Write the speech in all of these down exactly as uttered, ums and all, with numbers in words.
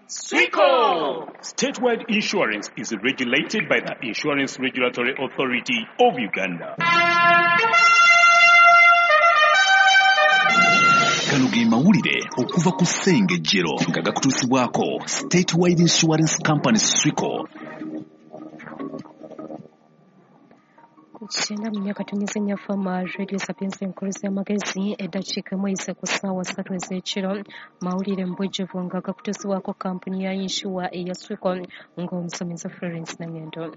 Swico! Statewide Insurance is regulated by the Insurance Regulatory Authority of Uganda. Gano ge mawulire okuva ku Ssengejjero nga gakutuusibwako Statewide Insurance Company Swico. Kyenda mu myaka tunyize nnyafama Radio Sapienza enkuluzi y'amagezi eddakiika emu eyise ku ssaawa ssatu ez'ekiro. Mawulire mu bujjuvu nga gakutuusibwako kampuni ya yinsuwa eya Swico ng'omusomesa Florence Nangendo.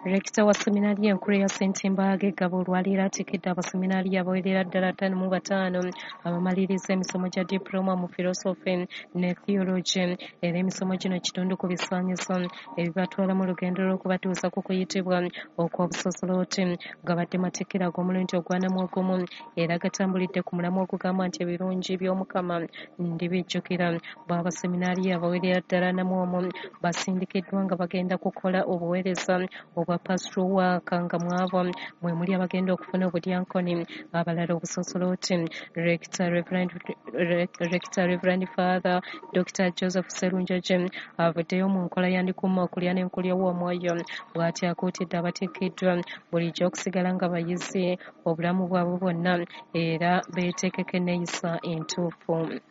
Rekita wa seminari enkulu eya Ssentimbaga Gabo olwaleero atikidde abaseminari abawerera ddala ttaano mu bataano abamaliriza emisomo gya diploma mu philosophy ne theology, era emisomo gino kitundu ku bisaanyizo ebibatwala mu lugendo lw'okubatuusa ku kuyitibwa okw'obusosoloti. Gabadde matikkira ag'omulundi ogwanamu ogumu era gatambulidde ku mulamwa ogugamba nti ebirungi by'Omukama ndibijjukira. Bo abaseminari abawerera ddala ana mu omu basindikiddwa nga bagenda kukola obuweereza obwa pastoral work, nga mwabo mwe muli abagenda okufuna obudyankoni, abalala obusosoloti. Rector Reverend, Rector Reverend Father Doctor Joseph Serunjogi avuddeyo mu nkola ya Ndikuuma okulya n'enkulya w'omwoyo, bw'ati akuutidde abatikkiddwa bulijjo okusigala nga bayizi obulamu bwabwe bwonna era beeteekeko enneeyisa entuufu.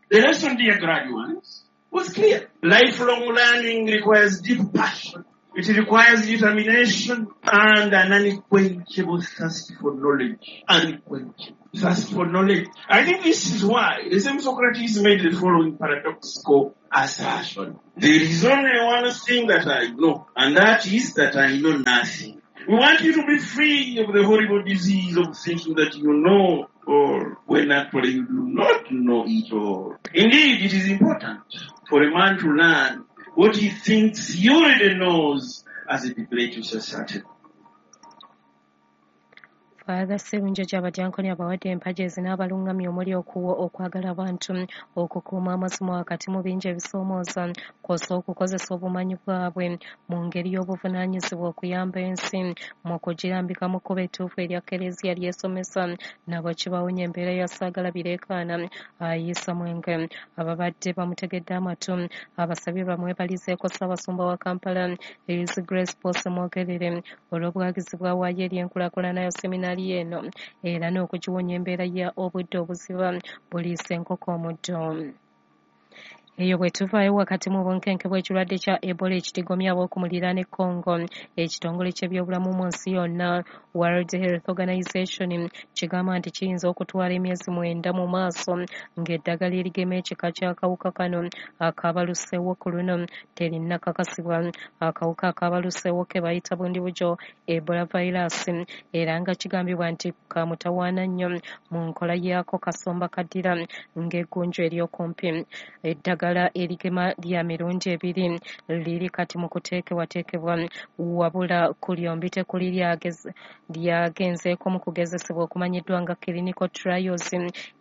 The lesson, dear graduates, was clear. Lifelong learning requires deep passion. It requires determination and an unquenchable thirst for knowledge. Unquenchable thirst for knowledge. I think this is why the same Socrates made the following paradoxical assertion. There is only one thing that I know, and that is that I know nothing. We want you to be free of the horrible disease of thinking that you know all, when actually you do not know it all. Indeed, it is important for a man to learn what he thinks he already knows as it relates to society. Father Serunjogi abadyankoni abawadde empagi ezinaabalungamya omuli okuwa okwagala abantu, okukuuma amazima wakati mu bingi ebisoomooza, kw'ossa okukozesa obumanyi bwabwe mu ngeri y'obuvunaanyizibwa okuyamba ensi mu kugirambika mu kkubo ettuufu erya Kkereziya ly'esomesa, nabo kibawonya embeera ya Saagala Bireekaana Ayisa Mwenge. Ababadde bamutegedde amatu abasabye bamwebalizeeko Ssaabasumba wa Kampala His Grace Paul Ssemwogerere olw'obuwagizi bw'awaayo eri enkulaakulana ya seminari eno era n'okugiwonya embeera ya obudde obuziba buliisa enkoko omuddo. Eyo bwe tuvaayo wakati mu bunkenke bw'ekirwadde kya Ebola ekitigomya ab'oku muliraano e Congo, ekitongole ky'ebyobulamu mu nsi yonna World Health Organization kigamba nti kiyinza okutwala emyezi mwenda mu maaso ng'eddagala erigema ekika ky'akawuka kano akabaluseewo ku luno terinnakakasibwa. Akawuka akabaluseewo ke bayita bundibujo Ebola virus, era nga kigambibwa nti kamutawaana nnyo mu nkola yaako kasomba kaddira ng'eggunju ery'okumpi. Eddagala erigema lya mirundi ebiri liri kati mu kuteekebwateekebwa, wabula ku lyombi tekuli lyagenzeeko mu kugezesebwa okumanyiddwa nga clinical trials,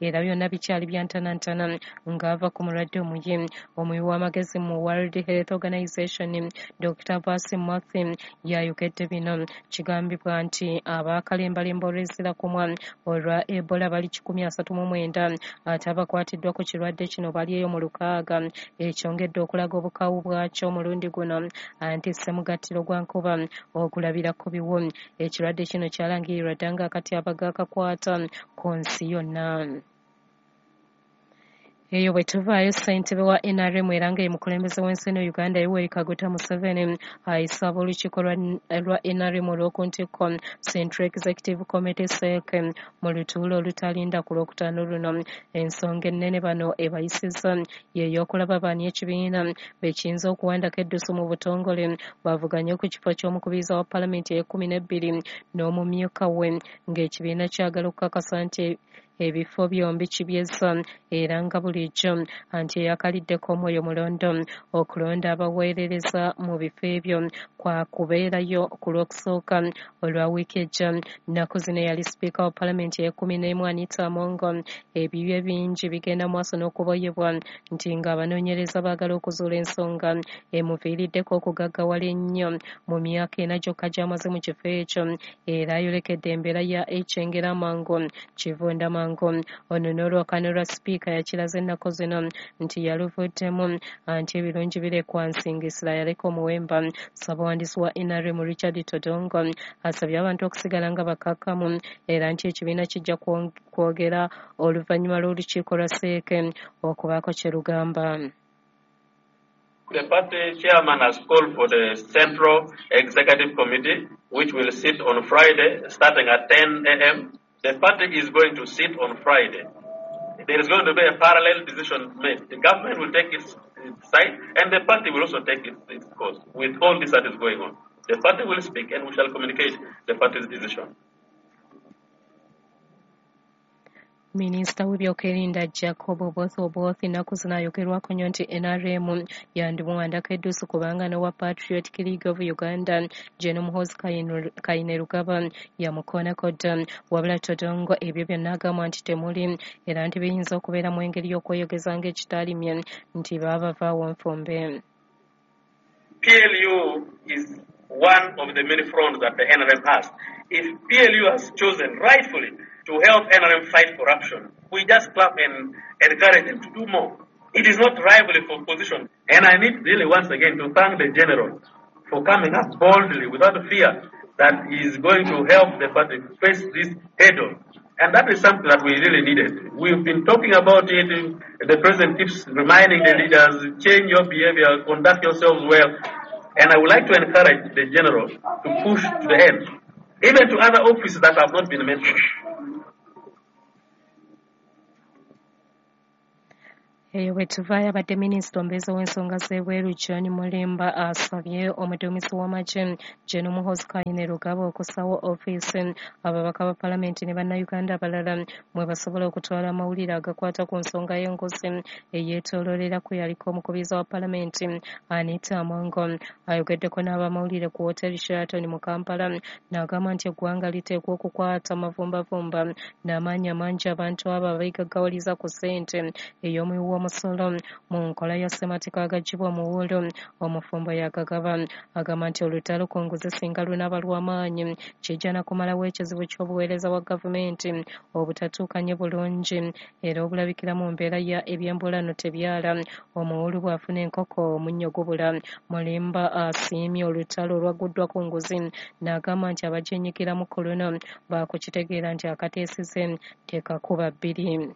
era byonna bikyali bya ntanantana ng'ava ku mulwadde omuyi. Omuwi w'amagezi mu World Health Organization Doctor Vasi Murthy yayogedde bino. Kigambibwa nti abaakalembalemba olw'ezira kumwa olwa Ebola bali kikumi asatu mu mwenda, ate abakwatiddwa ku kirwadde kino bali eyo mu lukaaga, ekyongedde okulaga obukawu bwakyo omulundi guno anti ssemugattiro gwa nkuba ogulabira ku biwu. Ekirwadde kino kyalangirirwa dda nga akatyabaga akakwata ku nsi yonna. Eyo bwe tuvaayo ssentebe wa N R M era nga ye mukulembeze w'ensi eno Uganda Yoweri Kaguta Museveni ayisa ab'olukiiko lwa N R M olw'oku ntikko Central Executive Committee S E C mu lutuula olutalinda ku Lwokutaano luno. Ensonga ennene bano ebayisizza ye y'okulaba baani ekibiina bekiyinza okuwandako eddusu mu butongole bavuganye ku kifo ky'omukubiriza wa Palamenti ey'ekkumi n'ebbiri n'omumyuka we, ng'ekibiina kyagala okukakasa nti ebifo byombi kibyezza era nga bulijjo anti eyakaliddeko omwoyo mulondo. Okulonda abaweerereza mu bifo ebyo kwa kubeerayo ku Lwokusooka olwa wiiki ejja. Nnaku zino eyali sipiika wa Palamenti ey'ekkumi n'emu Anita Among ebibye bingi bigenda maaso n'okuboyebwa nti ng'abanoonyereza baagala okuzuula ensonga emuviiriddeko okugaggawala ennyo mu myaka ena gyokka gy'amaze mu kifo ekyo, era ayolekedde embeera ya ekyengera amangu kivunda mangu Galiwango. Ono n'olwakano lwa sipiika yakiraze ennaku zino nti yaluvuddemu anti ebirungi birekwa nsingisira yaleka omuwemba. Ssabawandiisi wa N R M Richard Todongo asabye abantu okusigala nga bakakkamu era nti ekibiina kijja kwogera oluvannyuma lw'olukiiko lwa Seeke okubaako kye lugamba. The party chairman has called for the Central Executive Committee, which will sit on Friday, starting at ten A M The party is going to sit on Friday. There is going to be a parallel decision made. The government will take its, its side, and the party will also take its, its course with all this that is going on. The party will speak, and we shall communicate the party's decision. Minisita w'ebyokwerinda Jacob Oboth Oboth ennaku zino ayogerwako nnyo nti N R M yandimuwandako eddusu kubanga n'owa Patriotic League of Uganda Gen Muhoozi Kainerugaba yamukoonako dda. Wabula Todongo ebyo byonna agamba nti temuli era nti biyinza okubeera mu engeri y'okweyogeza ng'ekitaalimye nti baabavaawo nfumbe. P L U is one of the many fronts that the N R M has. If P L U has chosen rightfully to help N R M fight corruption, we just clap and encourage them to do more. It is not rivalry for position. And I need really once again to thank the general for coming up boldly without fear that he is going to help the party face this head-on. And that is something that we really needed. We've been talking about it. The president keeps reminding the leaders, change your behavior, conduct yourselves well. And I would like to encourage the general to push to the end, even to other offices that have not been mentioned. Eyo bwe tuvaayo abadde minisita omubeezi w'ensonga z'ebweru John Mulimba asabye omuduumizi w'amagye Gen Muhoozi Kainerugaba okussawo ofiisi ababaka ba palamenti ne bannayuganda abalala mwe basobola okutwala amawulire agakwata ku nsonga y'enguzi eyeetooloolera ku yaliko omukubiriza wa palamenti Anita Among. Ayogeddeko n'abamawulire ku Hotel Sheraton mu Kampala n'agamba nti eggwanga liteekwa okukwata amavumbavumba n'amaanyi amangi abantu abo abeegaggawaliza ku ssente ey'omuwi w'omusolo mu nkola ya ssemateeka agaggyibwa omuwuulu omufumbo yagagaba. Agamba nti olutalo ku nguzi singa lunaaba lw'amaanyi kijja na kumalawo ekizibu ky'obuweereza bwa gavumenti obutatuukanye bulungi era obulabikira mu mbeera ya ebyembulano tebyala. Omuwuulu bw'afuna enkoko omunnyo gubula. Mulimba asiimye olutalo olwagguddwa ku nguzi n'agamba nti abagyenyigiramu ku luno baakukitegeera nti akateesize tekakuba bbiri.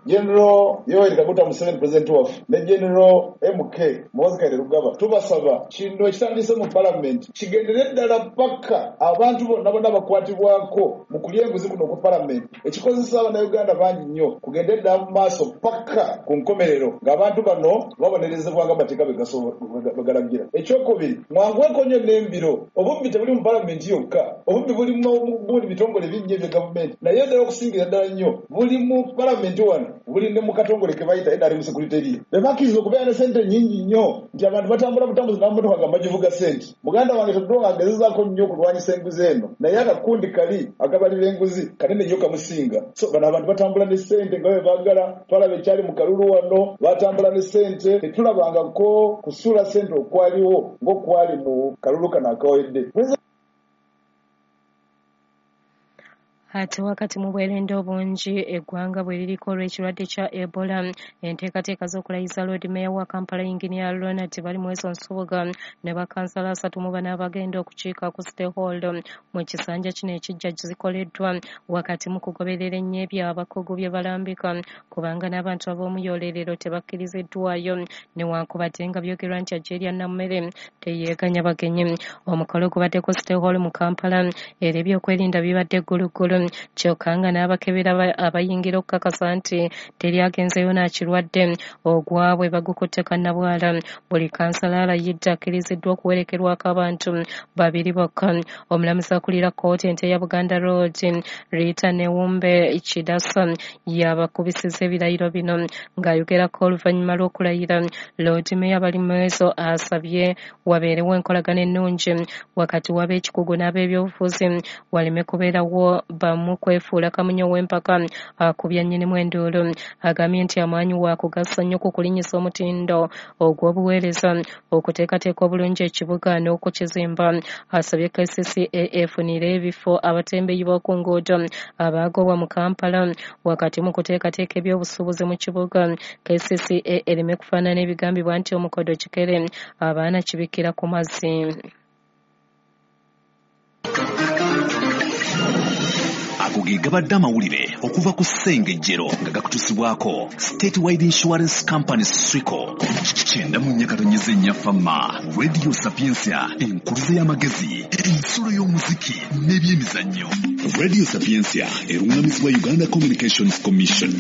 General Yoweri Kaguta Museveni President waffe ne General M K Muhoozi Kainerugaba tubasaba kino ekitandise mu parliament kigendere ddala paka abantu bonna bonna bakwatibwako mu kulya enguzi kuno ku parliament ekikozesa Abannayuganda bangi nnyo kugende ddala mu maaso paka ku nkomerero ng'abantu bano babonerezebwa ng'amateeka bwe galagira. Ekyokubiri, mwanguweko nnyo n'embiro. Obubbi tebuli mu parliament yokka, obubbi buli mu buli bitongole bingi ebya gavumenti, naye ddala okusingira ddala nnyo buli mu parliament wano buli ne mu katongole ke bayita N R M Secretariat. Be bakkiriza okubeera ne ssente nnyingi nnyo nti abantu batambula butambuzi n'amamotoka nga bagivuga ssente. Muganda wange Todwong agezezaako nnyo okulwanyisa enguzi eno, naye akakundi kali akabali b'enguzi kanene nnyo kamusinga. So bano abantu batambula ne ssente nga bwe baagala. Twalaba ekyali mu kalulu wano, batambula ne ssente, tetulabangako kusuula ssente okwaliwo ng'okwali mu kalulu kano akawedde. Ate wakati mu bwerende obungi eggwanga bwe liriko olw'ekirwadde kya Ebola, enteekateeka z'okulayiza Lord Mayor wa Kampala Engineer Ronald Balimwezo Nsubuga ne bakansala asatu mu bana abagenda okukiika ku City Hall mu kisanja kino ekijja zikoleddwa wakati mu kugoberera ennyo ebyo abakugu bye balambika kubanga n'abantu ab'omuyoolerero tebakkiriziddwayo newankubadde nga byogerwa nti Algeria Nammere teyeeganya bagenyi. Omukolo gubadde ku City Hall mu Kampala era ebyokwerinda bibadde gguluggulu kyokka nga n'abakebera abayingira okukakasa nti teri agenzeyo n'akirwadde ogwabwe bagukutte kannabwala. Buli kansala alayidde akkiriziddwa okuwerekerwako abantu babiri bokka. Omulamuzi akulira kkooti ente ya Buganda Road Rita Newumbe Kidasa yabakubisiza ebirayiro bino ng'ayogerako oluvannyuma lw'okulayira. Lord Mayor Balimwezo asabye wabeerewo enkolagana ennungi wakati w'ab'ekikugu n'ab'ebyobufuzi waleme kubeerawo kamu kwefuula kamunye w'empaka akubya nnyinimu enduulu. Agambye nti amaanyi waakugasa nnyo ku kulinnyisa omutindo ogw'obuweereza, okuteekateeka obulungi ekibuga n'okukizimba. Asabye K C C A efunire ebifo abatembeeyi b'oku nguudo abaagobwa mu Kampala wakati mu kuteekateeka ebyobusuubuzi mu kibuga. K C C A ereme kufaanana ebigambibwa nti omukodo kikere abaana kibikkira ku mazzi. Ago ge gabadde amawulire okuva ku Ssengejjero nga gakutuusibwako Statewide Insurance Company Swico. Kyenda mu nnya katonnyeze nnya Fama, Radio Sapientia, enkuluze y'amagezi, ensulo y'omuziki n'ebyemizannyo. Radio Sapientia erungamizibwa Uganda Communications Commission.